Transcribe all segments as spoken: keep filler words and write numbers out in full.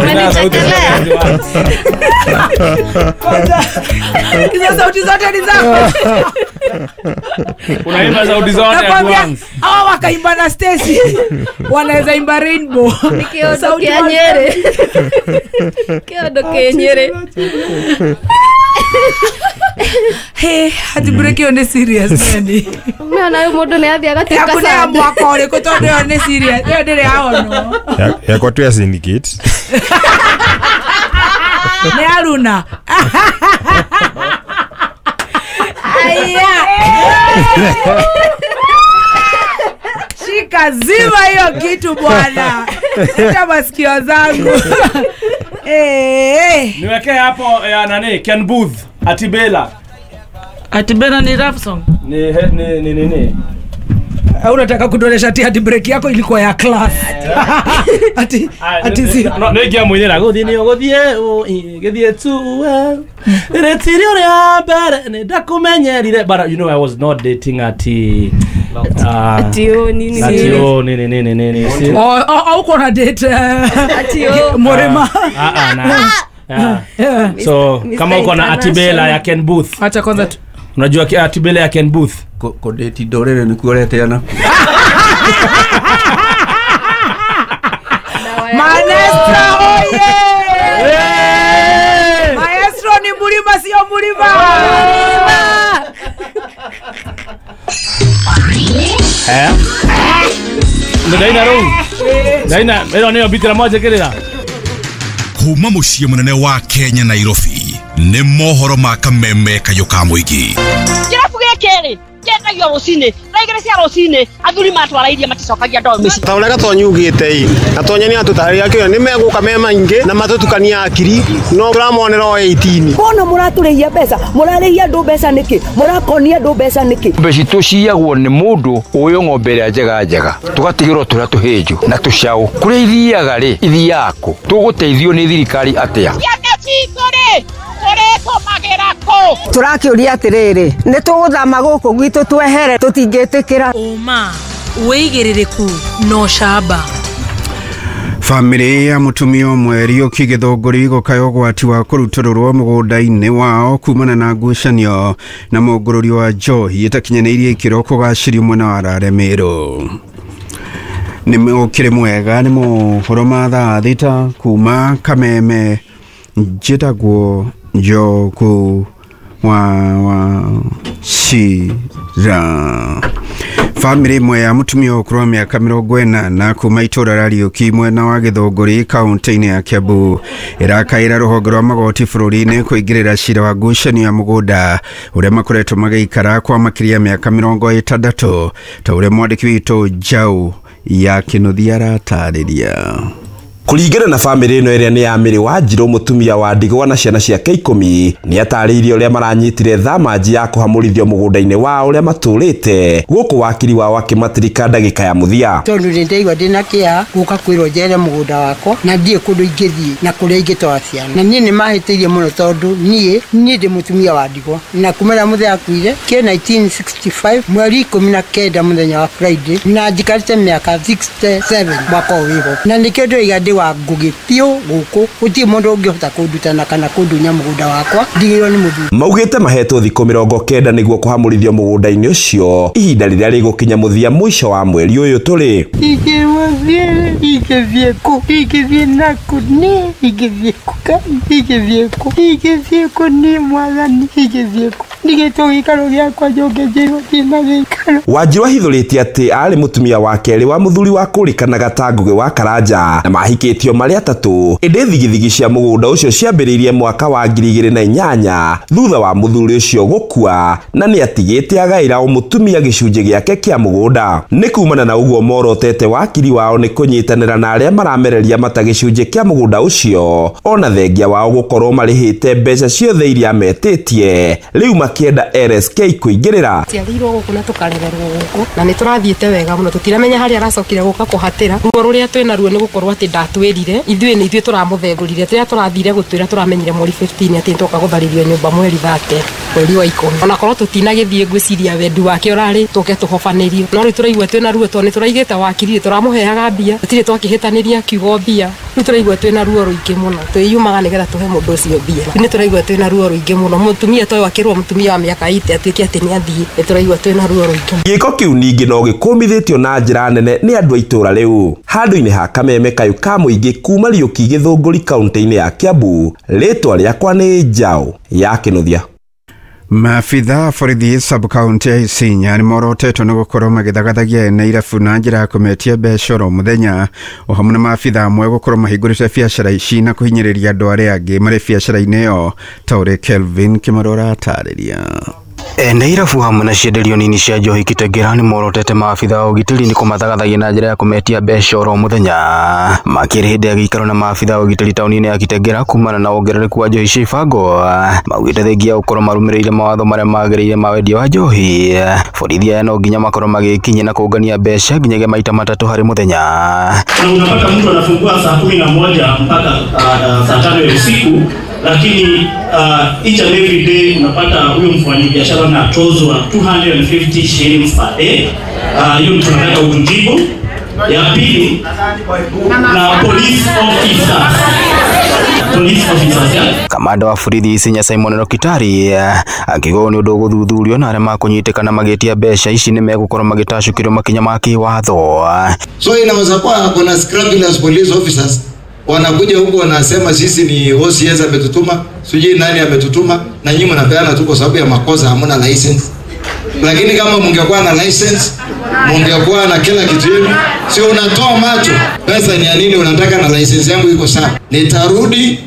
Umenichekelea. Kwanza hizo sauti zote ni zako. Unaimba sauti zote at once. Hawa wakaimba na Stacy. Wanaweza imba rainbow. Sauti ya Nyere. Kiodo ke Nyere. Hey, hadi break hiyo ni serious nani. Mimi na mundu ni athi agatuika sana. Hakuna mwaka uriku tondu hiyo ni serious. Hiyo ndiri yaonwo. Yakwa tu ya syndicate. Ni Aruna. Aya. Shika zima hiyo kitu bwana. Sita masikio zangu. Eh. Niwekee hapo ya nani Ken Booth Atibela. Atibela ni rap song. Ni ni ni ni. Au unataka kudoresha ati hadi break yako ilikuwa ya class. Ati ati si no ngia mwenye na guthie ni guthie githie tu well. Retiri ria mbere ni ndakumenyerire but you know I was not dating ati ati o nini ati o nini nini nini. Oh oh uko na date ati o Morema. Ah ah na. So kama uko na Atibela ya Ken Booth. Acha kwanza tu. Unajua Atibela ya Ken Booth ko date ndorere ni kuoreteana. Maestro oye! Maestro ni mulima sio mulima. Eh? Ndaina rou. Ndaina ero niyo bitira moja kirira. Kuma muciĩ munene wa Kenya Nairobi nĩ mohoro ma kameme kayũ ka mũingĩ. Kĩrabu gĩkĩ rĩ kĩendagio rũcinĩ thaa igĩrĩ cia rũcinĩ athuri matwara iria maticokagia ndoo mĩciĩ. Ta ũrĩa Gatonyi ugĩte ĩ Gatonyi nĩ atũtarĩria kĩo nĩ megũka me maingĩ na matũtukania akiri no tũramonera o eighteen. Mbona mũratũrĩhia mbeca mũrarĩhia andũ mbeca nĩkĩ mũrakonia andũ mbeca nĩkĩ? Mbeca citũ ciyagwo nĩ mũndũ ũyũ ng'ombe ĩrĩa njega njega tũgatigĩrwo tũrĩa tũhĩnju na tũcaũ kũrĩa ithiaga rĩ ithiaga kũ tũgũteithio nĩ thirikari atĩa? Ciana citũ rĩ tũrĩtũmagĩra kũ? Tũrakĩũria atĩrĩrĩ nĩ tũgũthama gũkũ gwitũ twehere tũtingĩtĩkĩra. Ũma wĩigĩrĩrĩku no camba. Famĩlĩ ya mũtumia ũmwe Riũki Gĩthũngũri gũkaya ũgwati wa kũrutũrũrwo mũgũnda-inĩ wao kumana na ngucanio na mũngũrũri wa njohi ĩtakinyanĩirie ikĩro kũgacĩrio mwena wa Rare Meru. Nĩ ũkĩrĩ mwega nĩ mohoro ma thaa thita kuma Kameme njĩtagwo Njoku wa wa Shira. Famĩlĩ ĩmwe ya mũtumia ũkũrũ wa mĩaka mĩrongo ĩnana kuma itũũra rĩa Riũki mwena wa Gĩthũngũri kaunti-inĩ ya Kiambu ĩrakaĩra rũhonge rwa magoti bũrũri-inĩ kũingĩrĩra cira wa ngucanio ya mũgũnda ũrĩa makoretwo magĩikara kwa makĩria ya mĩaka mĩrongo ĩtandatũ ta ũrĩa mwandĩki witũ Njaũ ya Kĩnuthia aratarĩria. Kuringana na famĩlĩ ĩno ĩrĩa nĩ ya Mĩrĩ wa Njirũ mũtumia wa ndigwa na ciana ciake ikũmi nĩ atarĩirie ũrĩa maranyitire thamanji ya kũhamũrithio mũgũnda-inĩ wao ũrĩa matũrĩte gũkũ wakiri wao akĩmatirika ndagĩka ya mũthia. Tondũ nĩ ndaigua ndĩna kĩeha gũka kwĩrwo njere mũgũnda wakwa na ndiĩ kũndũ ingĩthiĩ na kũrĩa ingĩtwara ciana na niĩ nĩ mahĩtĩirie mũno tondũ niĩ niĩ ndĩ mũtumia wa ndigwa na kuma rĩrĩa mũthee akuire kĩ nineteen sixty-five mweri ikũmi na kenda mũthenya wa Friday na njikarĩte mĩaka sixty-seven mwaka ũyũ wĩho na nĩkĩo ndĩroiga ndĩ wa Ngugi biũ gũkũ gũtirĩ mũndũ ũngĩhota kũnduta kana kũndunya mũgũnda wakwa ndigĩrwo nĩ mũthuri. Maugĩte mahetwo thikũ mĩrongo kenda nĩguo kũhamũrithio mũgũnda-inĩ ũcio ihinda rĩrĩa rĩgũkinya mũthia mũico wa mweri ũyũ tũrĩ. Ingĩthiĩ ingĩthiĩ kũ ingĩthiĩ nakũ niĩ ingĩthiĩ kũ ingĩthiĩ kũ ingĩthiĩ kũ niĩ mwathani ingĩthiĩ kũ ndigĩtwo gĩikaro gĩakwa njoke njĩrwo ndina gĩikaro. Wanjiru ahithũrĩtie atĩ arĩ mũtumia wa kerĩ wa mũthuri wa kũrĩkanaga ta Ngugi wa Karanja na mahikĩtio marĩ atatũ ĩndĩ thigithigi cia mũgũnda ũcio ciambĩrĩirie mwaka wa ngiri igĩrĩ na inyanya thutha wa mũthuri ũcio gũkua na nĩ atigĩte agaĩra o mũtumia gĩcunjĩ gĩake kĩa mũgũnda. Nĩ kumana na ũguo morotete wakiri wao nĩ kũnyitanĩra na arĩa maramereria mata gĩcunjĩ kĩa mũgũnda ũcio ona thengia wao gũkorwo marĩhĩte mbeca ciothe iria metĩtie rĩu makĩenda L S K kũingĩrĩra. Ciarĩirwo gũkũ na tũkarererwo gũkũ na nĩ tũrathiĩte wega mũno, tũtiramenya harĩa aracokire gũka kũhatĩra. Ruo rũrĩa twĩna ruo nĩ gũkorwo atĩ ndatwĩrire ithuĩ nĩ ithuĩ tũramũthengũrire, rĩrĩa tũrathire gũtwĩra tũramenyire mweri fifteen atĩ nĩtwoka gũtharĩrio nyũmba mweri thate mweri wa ikũmi. Onakorwo tũtinagĩthiĩ ngwĩciria wendi wake ũrarĩ tũke tũhobanĩrio, no rĩu tũraigua twĩna ruo tondũ nĩ tũraigĩte wakiri, tũramũheaga mbia, tũtirĩ twakĩhĩtanĩria kiugo mbia. Rĩu tũraigua twĩna ruo rũingĩ mũno, twĩyumaga nĩgetha tũhe mũndũ ũcio mbia. Rĩu nĩ tũraigua twĩna ruo rũingĩ mũno, mũtumia toyũ akĩrwo mũtumia wa mĩaka eighty atuĩke atĩ nĩ athiĩ, nĩ tũraigua twĩna ruo rũingĩ. Gĩko kĩu ningĩ no gĩkũmithĩtio na njĩra nene nĩ andũ a itũũra rĩu. Handũ-inĩ ha Kameme kayũ ka mũingĩ kuma Riũki Gĩthũngũri kaunti-inĩ ya Kiambu, rĩtwa rĩakwa nĩ Njaũ ya Kĩnuthia. Maabitha borithi sub-county ya Isinya nĩ morotetwo nĩ gũkorwo magĩthagathagia ene irabu na njĩra ya kũmetia mbeca oro mũthenya, o hamwe na maabitha amwe gũkorwo mahingũrĩte biacara ici na kũhinyĩrĩria andũ arĩa angĩ marĩ biacara-inĩ ĩyo, ta ũrĩa Kelvin Kĩmarũ aratarĩria. Ene irabu hamwe na cienderio nini cia njohi Kitengela nĩ morotete maabitha a ũgitĩri nĩ kũmathagathagia na njĩra ya kũmetia mbeca oro mũthenya. Makĩrĩ hĩndĩ ya gĩikaro na maabitha a ũgitĩri taũni-inĩ ya Kitengela kumana na wongerereku wa njohi cia ibango, maugĩte thengia gũkorwo marũmĩrĩire mawatho marĩa magĩrĩire ma wendia wa njohi, borithi aya no nginya makorwo magĩkinyia na kũngania mbeca nginyagia maita matatũ harĩ mũthenya. Na unapata mtu anafungua saa kumi na moja mpaka uh, saa tano ya usiku, lakini uh, each and every day unapata huyo mfanyabiashara anatozwa two hundred and fifty shillings per day. Hiyo uh, tunataka utujibu. Ya pili, na police officers. Police officers, yeah. Kamanda wa borithi Isinya Simon Rokitari akiuga nĩ ũndũ ũgũthuthurio na arĩa makũnyitĩkana magĩtia mbeca ici nĩ megũkorwo magĩtacũkĩrwo makinya ma kĩwatho. So inaweza kuwa kuna scrupulous police officers wanakuja huku wanasema sisi ni O C S ametutuma, sijui nani ametutuma, na nyinyi mnapeana tu kwa sababu ya makosa, hamna license. Lakini kama mungekuwa na license, mungekuwa na kila kitu yenu, sio unatoa macho. Pesa ni ya nini unataka na license yangu iko sawa? Nitarudi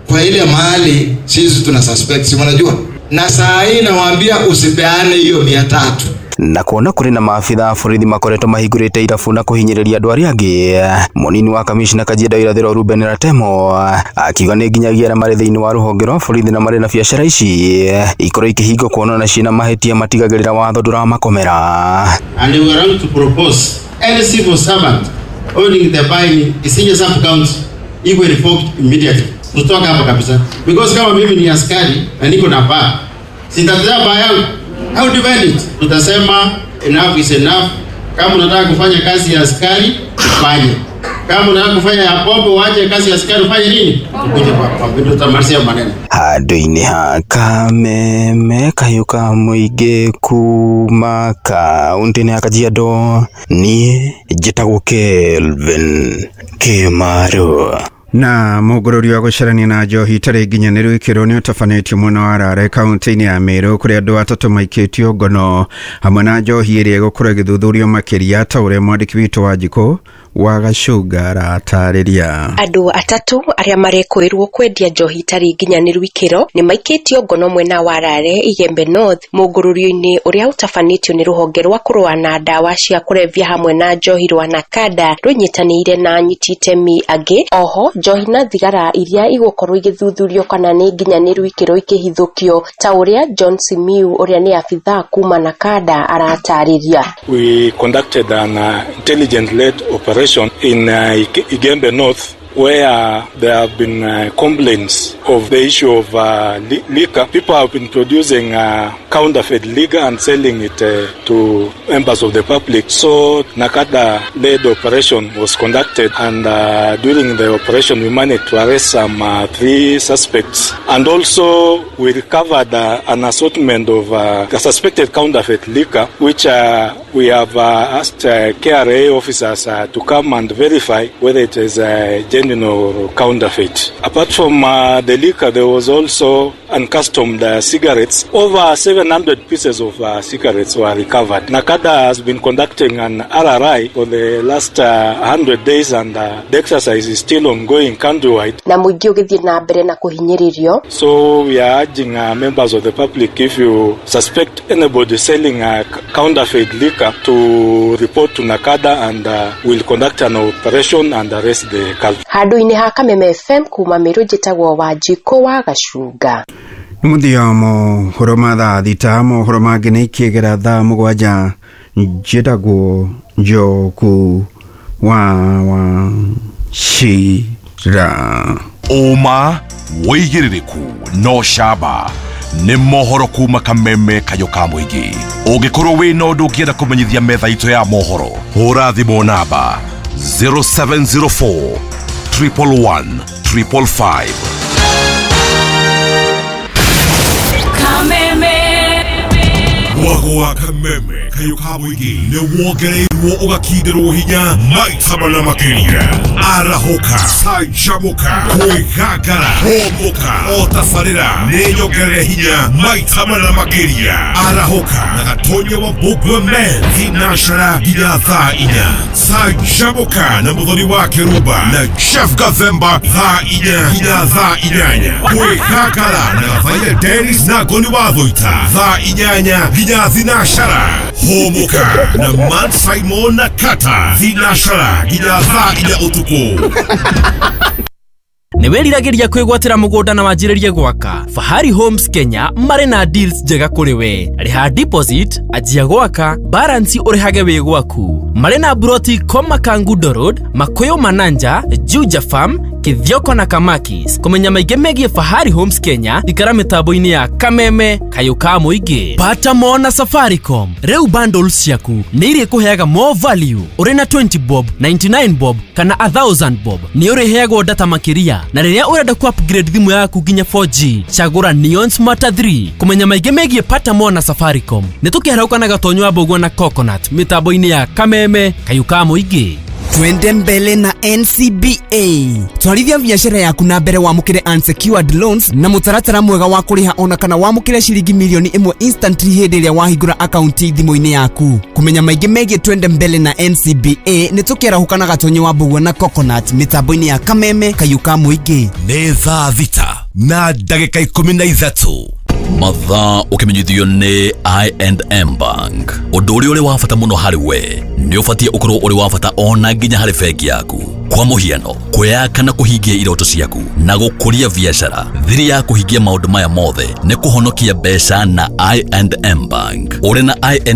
kwa ile mahali sisi tuna suspect, si mnajua? Na saa hii nawaambia usipeane hiyo mia tatu. Na kuona kuri na maabitha a borithi makoretwo mahingũrĩte irabu na kũhinyĩrĩria andũ arĩa angĩ, mũnini wa kamishna Kajiado Irathĩro Ruben Ratemo akiuga nĩ nginyagia arĩa marĩ thĩinĩ wa rũhonge rwa borithi na marĩ na biacara ici ikorwo ikĩhingwo kuona na ciĩna mahĩtia matigagĩrĩra watho ndũramakomera. And we are going to propose any civil servant owning the bar in Isinya sub-county iwe revoked immediately. Tutoka hapo kabisa, because kama mimi ni askari na niko na bar, sitatetea bar yangu. How divide it? Tutasema enough is enough. Kama unataka kufanya kazi ya askari, ufanye. Kama unataka kufanya ya pombe, uache kazi ya askari, ufanye nini? Tukuje kwa pombe, tutamalizia maneno. Handũ-inĩ ha Kameme kayũ ka mũingĩ kuma kaũntĩ-inĩ ya Kajiado, niĩ njĩtagwo Kelvin Kĩmarũ. Na mũgũrũri wa gũcarania na njohi itarĩ nginyanĩru ikĩro nĩ ũtabanĩtio mwena wa Rare kaũntĩ-inĩ ya Meru, kũrĩa andũ atatũ maikĩtio ngono hamwe na njohi ĩrĩa ĩgũkorwo ĩgĩthuthurio makĩria, ta ũrĩa mwandĩki witũ wa Njikũ wa Gacũnga aratarĩria. Andũ atatũ arĩa marekũĩrwo kwendia njohi itarĩ nginyanĩru ikĩro nĩ maikĩtio ngono mwena wa Rare Igembe North mũngũrũrio-inĩ ũrĩa ũtabanĩtio nĩ rũhonge rwa kũrũa na ndawa cia kũrebia hamwe na njohi rwa Nakada rũnyitanĩire na anyiti itemi angĩ. Oho njohi na thigara iria igũkorwo igĩthuthurio kana nĩ nginyanĩru ikĩro ikĩhithũkio, ta ũrĩa John Simiu ũrĩa nĩ abithaa kuma Nakada aratarĩria. We conducted an uh, intelligence-led operation in uh, Igembe North, where there have been uh, complaints of the issue of uh, li liquor. People have been producing uh, counterfeit liquor and selling it uh, to members of the public. So Nakada-led operation was conducted, and uh, during the operation we managed to arrest some uh, three suspects. And also we recovered uh, an assortment of uh, suspected counterfeit liquor, which uh, we have uh, asked uh, K R A officers uh, to come and verify whether it is uh, genuine or counterfeit. Apart from uh, the liquor, there was also uncustomed uh, cigarettes. Over seven hundred pieces of uh, cigarettes were recovered. Nakada has been conducting an R R I for the last uh, one hundred days, and uh, the exercise is still ongoing countrywide. Na mũingĩ ũgĩthiĩ na mbere na kũhinyĩrĩrio. So we are urging uh, members of the public, if you suspect anybody selling uh, counterfeit liquor, to report to Nakada, and uh, we'll conduct an operation and arrest the culprit. Handũ-inĩ ha Kameme F M kuma Meru, njĩtagwo Wanjikũ wa Gacunga. Nĩ mũthia mohoro ma thaa thita. Mohoro mangĩ nĩ ikĩgera thaa mũgwanja. Njĩtagwo Njoku wa wa Cira. Ũma, wĩigĩrĩrĩku no camba nĩ mohoro kuma Kameme kayũ ka mũingĩ. Ũngĩkorwo wĩna ũndũ ũngĩenda kũmenyithia metha itũ ya mohoro, hũra thimũ namba zero seven zero four triple one triple five. Kameme. Mwago wa Kameme kayũ ka mũingĩ nĩ wongereirwo ũgakindĩrwo hinya maita mana makĩria. Arahũka, canjamũka, kwĩgangara, hũmũka, o tabarĩra nĩ nyongerere hinya maita mana makĩria. Arahũka na Gatonya wa Mbũmbua men thinacara nginya thaa inya. Canjamũka na Mũthoni wa Kĩrumba na Jeff Gathemba thaa inya nginya thaa inyanya. Kwĩgangara na Gathaia Dennis na Ngoni wa Thũita thaa inyanya nginya thinacara. Hũmũka na Man Simon na Kata thinacara nginya thaa inya ũtukũ. Nĩ wĩriragĩria kwĩgwatĩra mũgũnda na wanjĩrĩrie gwaka? Fahari Homes Kenya marĩ na deals njega kũrĩ we. Rĩha deposit, anjia gwaka, balance ũrĩhage wĩ gwaku. Marĩ na broti Koma Kangundo Road, Makuyu Mananja, Juja Farm, Kithioko na Kamakis. Kũmenya maingĩ megiĩ Fahari Homes Kenya, ikara mĩtambo-inĩ ya Kameme kayũ ka mũingĩ. Pata more na Safaricom. Rĩu bundles ciaku nĩ irĩkũheaga more value. Ũrĩ na twenty bob, ninety-nine bob kana one thousand bob nĩ ũrĩheagwo data makĩria, na rĩrĩa ũrenda ku upgrade thimũ yaku nginya four G, cagũra Neon Smarter three. Kũmenya maingĩ megiĩ Pata more na Safaricom, nĩ tũkĩharũka na Gatonyo wa Mbũgua na Coconut mĩtambo-inĩ ya Kameme kayũ ka mũingĩ. Twende mbele na N C B A. Twarithia biacara yaku na mbere, wamũkĩre unsecured loans na mũtaratara mwega wa kũrĩha, ona kana wamũkĩre ciringi milioni ĩmwe instantly hĩndĩ ĩrĩa wahingũra akaunti thimũ-inĩ yaku. Kũmenya maingĩ megiĩ Twende mbele na N C B A, nĩ tũkĩarahũka na Gatonyi wa Mbũgua na Coconut mĩtambo-inĩ ya Kameme kayũ ka mũingĩ. Nĩ thaa thita na ndagĩka ikũmi na ithatũ. Mathaa ũkĩmenyithio nĩ I and M Bank. Ũndũ ũrĩa ũrĩ wa bata mũno harĩ we nĩ ũbatiĩ ũkorwo ũrĩ wa bata ona nginya harĩ bengi yaku. Kwa mũhiano, kwĩyaka na kũhingia iroto ciaku na gũkũria biacara. Thiri ya kũhingia maũndũ maya mothe nĩ kũhonokia mbeca na I and M Bank. Ũrĩ na I and